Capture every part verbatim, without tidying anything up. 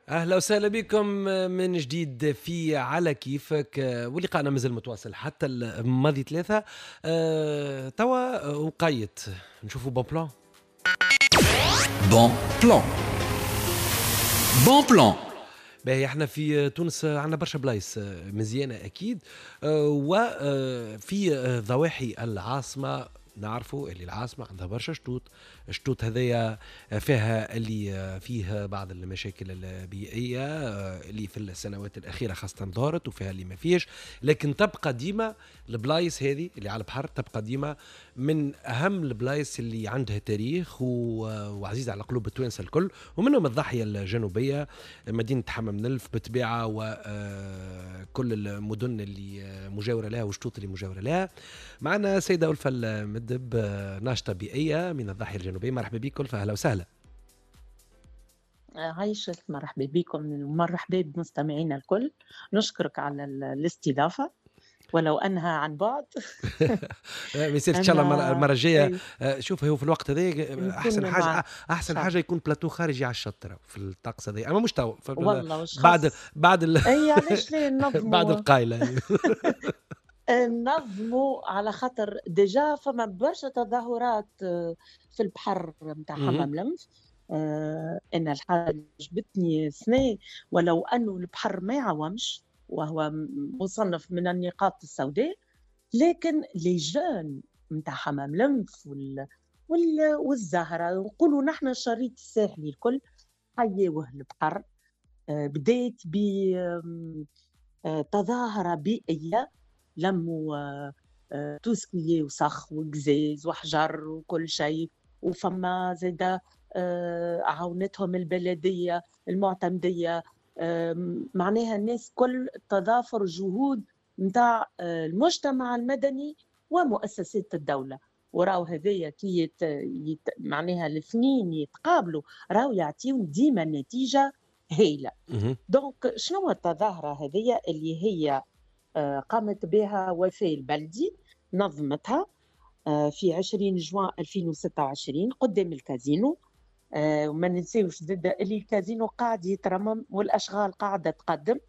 اهلا وسهلا بكم من جديد في على كيفك، ولقاءنا مازال متواصل حتى الماضي ثلاثة. أه توا وقيت نشوفوا bon plan. bon plan، bon plan. باهي، احنا في تونس عندنا برشا بلايص مزيانه اكيد، وفي ضواحي العاصمة نعرفوا اللي العاصمة عندها برشا شطوط. الشطوط هذيا فيها اللي فيه بعض المشاكل البيئية اللي في السنوات الأخيرة خاصة ظهرت، وفيها اللي ما فيش، لكن تبقى ديما البلايص هذه اللي على البحر تبقى ديما من أهم البلايص اللي عندها تاريخ وعزيزة على قلوب التوانسة الكل، ومنهم الضاحية الجنوبية، مدينة حمام نلف بالطبيعة، وكل المدن اللي مجاورة لها والشطوط اللي مجاورة لها. معنا سيدة ألفة المدب، ناشطة بيئية من الضاحية الجنوبية. مرحبا بك ألفة، أهلا وسهلا. عايشك، مرحبا بكم ومرحبا بمستمعينا الكل. نشكرك على الاستضافة ولو أنها عن بعد. ما يصير، ان شاء الله المرة الجايه. شوف، هو في الوقت هذا احسن حاجه، احسن حاجة يكون بلاتو خارجي على الشط في الطقس هذا، اما مش تو. والله بعد بعد ال... اي علاش لا؟ نظموا. بعد القايله. نظموا، على خاطر déjà فما برشا تظاهرات في البحر نتاع حمام لنف. آه انا الحاجة عجبتني سنة، ولو انه البحر ما يعومش وهو مصنف من النقاط السوداء، لكن les jeunes نتاع حمام لنف وال... وال... والزهره، نقولوا نحن الشريط الساحلي الكل، حيوه البحر. آه بديت بتظاهره بيئيه، لموا tout ce qui est وسخ وقزاز وحجر وكل شيء، وفما زاده عاونتهم البلدية، المعتمديه، معناها الناس كل، تضافر جهود نتاع المجتمع المدني ومؤسسات الدوله. وراو هذايا كي يت... يت... معناها الاثنين يتقابلوا راهو يعطيون ديما نتيجة هايله. donc شنو التظاهرة هذيا اللي هي قامت بها وفاء البلدي، نظمتها في عشرين جوان ألفين وستة وعشرين قدام الكازينو. وما ننساوش زاد اللي الكازينو قاعد يترمم والاشغال قاعدة تقدم.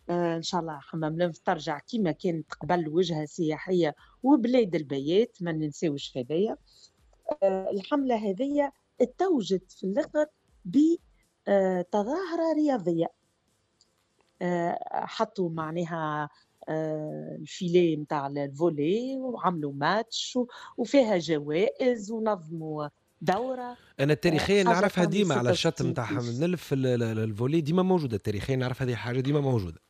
ان شاء الله حمام لنف ترجع كما كانت قبل، وجهه سياحية وبلاد البيات، ما ننساوش هذايا. الحملة هذيا اتوجت في الاخر بتظاهره رياضيه، حطوا معناها ال filet نتاع ال volley وعملوا ماتش وفيها جوائز ونظموا دوره. انا تاريخيا نعرفها ديما على الشط نتاع حمام نلف ال volley ديما موجوده، تاريخيا نعرف هذه حاجة ديما موجوده.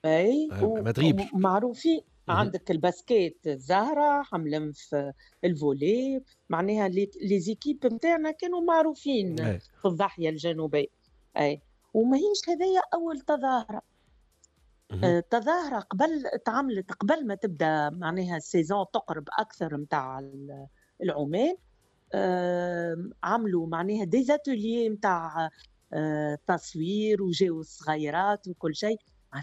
اي. ما تغيبش. معروفين، عندك ال basket الزهره، حمام لنف ال volley، معناها les équipes نتاعنا كانوا معروفين أي. في الضاحية الجنوبيه. اي، وماهيش هذايا اول تظاهره. التظاهرة قبل تعملت قبل ما تبدا معناها ال saison تقرب اكثر نتاع العومان، عملوا معناها des ateliers نتاع تصوير وجاو الصغيرات وكل شيء،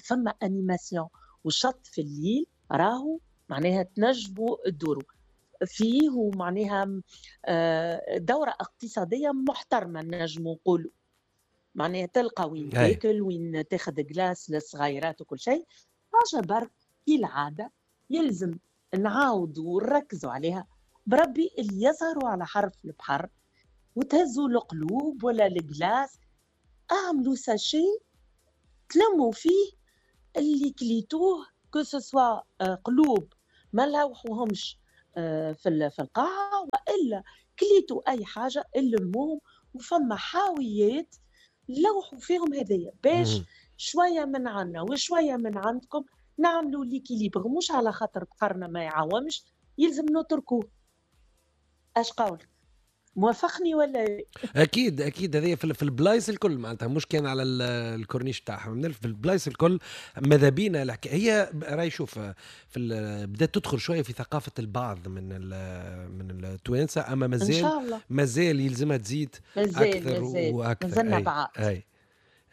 فما animation، والشط في الليل راهو معناها تنجموا تدوروا فيه، ومعناها دورة اقتصادية محترمة نجموا نقولوا، معناها تلقى وين تاكل، وين تاخذ glace للصغيرات وكل شيء. حاجة برك كالعادة يلزم نعاودوا ونركزوا عليها، بربي اللي يسهروا على حرف البحر وتهزوا القلوب ولا ال glace، اعملوا sachet تلموا فيه اللي كليتوه، que ce soit قلوب ما لوحوهمش آه، في في القاعة والا كليتوا اي حاجة اللموهم، وفما حاويات لوحوا فيهم هذايا، باش شوية من عنا وشوية من عندكم نعملوا l'équilibre. مش على خاطر بحرنا ما يعومش يلزم نتركوه. اش قولك؟ موافقني ولا؟ اكيد اكيد، هذه في البلايص الكل، معناتها مش كان على الكورنيش تاعهم، في البلايص الكل ماذا بينا. الحكاية هي راي شوف في بدات تدخل شوية في ثقافة البعض من من التوانسه، اما مازال مازال يلزمها تزيد. مازال اكثر مازال واكثر. مازلنا بعاد. اي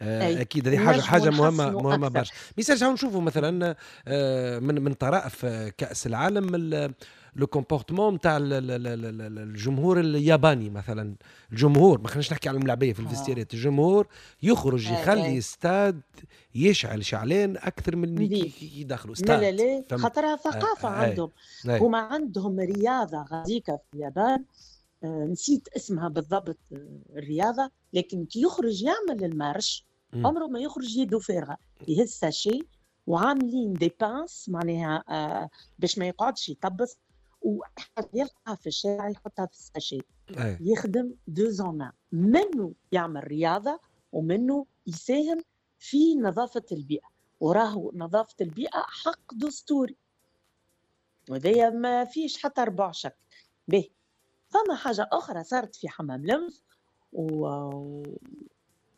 آه، اكيد، هذه حاجه حاجه مهمة مهمة برشا. ميسالش نشوفوا مثلا آه، من من طرائف كاس العالم. le comportement نتاع الجمهور الياباني مثلا. الجمهور، ما خليناش نحكي على الملاعبيه في ال vestiaire ات، الجمهور يخرج يخلي ستاد يشعل شعلان اكثر من اللي يدخلوا ستاد. لا لا، خاطرها ثقافة آه عندهم. هما عندهم رياضة غاديكا في اليابان، آه نسيت اسمها بالضبط الرياضه، لكن كي يخرج يعمل ال marche عمره ما يخرج يده فارغه، يهز sachet وعاملين des pinces معناها آه باش ما يقعدش يطبس، ويلقاها في الشارع يحطها في ال sachet. يخدم deux en un، منه يعمل رياضة ومنه يساهم في نظافة البيئه، وراهو نظافة البيئة حق دستوري، وهذايا ما فيش حتى ربع شك به. فما حاجة اخرى صارت في حمام لنف و...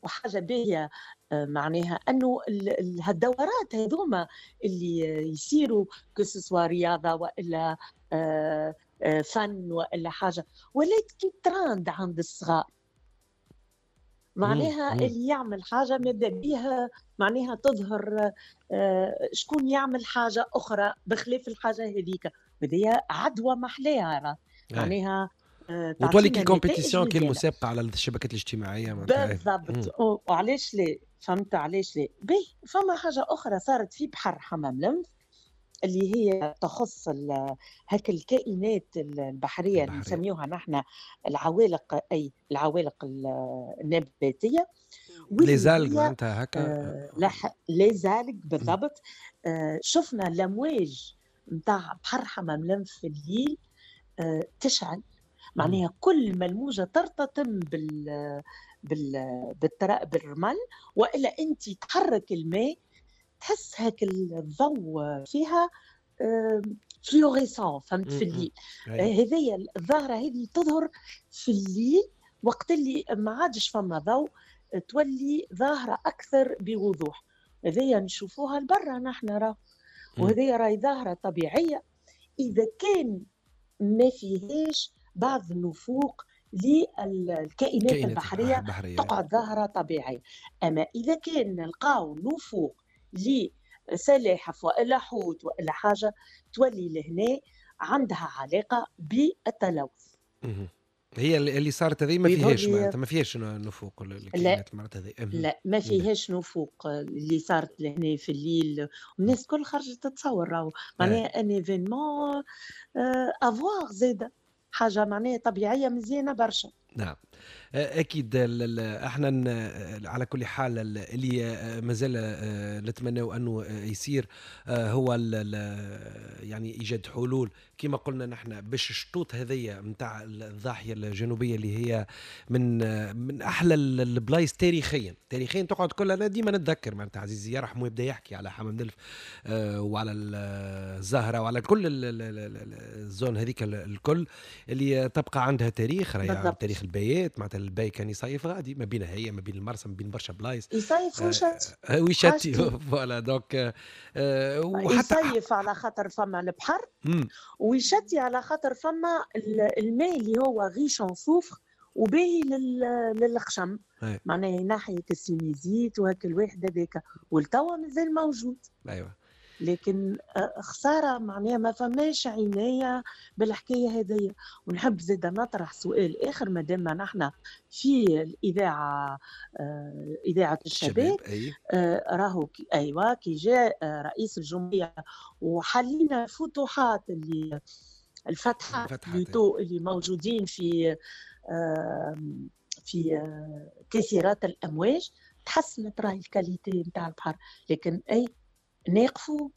وحاجه باهيه، معناها انه هالدورات هذوما اللي يصيروا que ce soit رياضة والا فن والا حاجة، ولات كي تراند عند الصغار، معناها اللي يعمل حاجة ماذا بيها معناها تظهر شكون يعمل حاجة اخرى بخلاف الحاجة هذيك، وهذه عدوى محلاها معناها. وتولي كي compétition، كي المسابقة على الشبكات الاجتماعية. بالضبط، وعلاش لا، فهمت علاش لا. به فما حاجة اخرى صارت في بحر حمام لنف اللي هي تخص هاك الكائنات البحرية اللي نسميوها نحن العوالق، اي العوالق النباتية، les algues معناتها هكا. آه les algues بالضبط. آه شفنا الامواج نتاع بحر حمام لنف في الليل آه تشعل، معناها كل ما الموجه ترتطم بال بال بالترا بالرمل والا انت تحرك الماء تحس هاك الضوء فيها fluorescent، فهمت، في الليل. هذه الظاهرة هذه تظهر في الليل وقت اللي ما عادش فما ضوء، تولي ظاهره اكثر بوضوح. هذه نشوفوها لبرا نحن راه، وهذه راهي ظاهره طبيعية اذا كان ما فيهاش بعض النفوق للكائنات البحرية، البحرية تقعد ظاهرة طبيعية. أما إذا كان نلقاو نفوق لسلاحف وإلا حوت وإلا حاجة، تولي لهنا عندها علاقة بالتلوث. هي اللي صارت هذه ما فيهاش معناتها ما فيهاش نفوق الكائنات المرات هذه. لا ما فيهاش نفوق اللي صارت لهنا في الليل، والناس الكل خرجت تتصور، راهو معناها un événement à voir زاده، حاجة معناها طبيعية مزيانه برشا. نعم اكيد. احنا على كل حال اللي مازال نتمنى انه يصير هو يعني ايجاد حلول كما قلنا نحن باش الشطوط هذيا نتاع الضاحية الجنوبية اللي هي من من احلى البلايص تاريخيا، تاريخيا تقعد كلها. انا ديما نتذكر معناتها عزيزي يرحمه يبدا يحكي على حمام نلف وعلى الزهرة وعلى كل ال zone هذيك الكل اللي تبقى عندها تاريخ، راهي تاريخ البيات معناتها الباي كان يصيف غادي ما بين هي ما بين المرسى ما بين برشا بلايص يصيف ويشتي آه ويشتي voilà donc آه وحتى يصيف على خاطر فما البحر ويشتي على خاطر فما الماء اللي هو riche en soufre وباهي للخشم، معناها ينحي ال sinusite وهاك الواحد هذاك، والتوا مازال موجود. ايوه لكن خسارة معناها ما فماش عناية بالحكاية هذيا. ونحب زاده نطرح سؤال اخر مادام نحن في الاذاعة، اذاعة الشباب، راهو ايوا كي جاء رئيس الجمهورية وحلينا الفتوحات اللي الفتحات plutôt اللي موجودين في في كثيرات الامواج، تحسنت راهي ال qualité نتاع البحر، لكن اي ناقفوا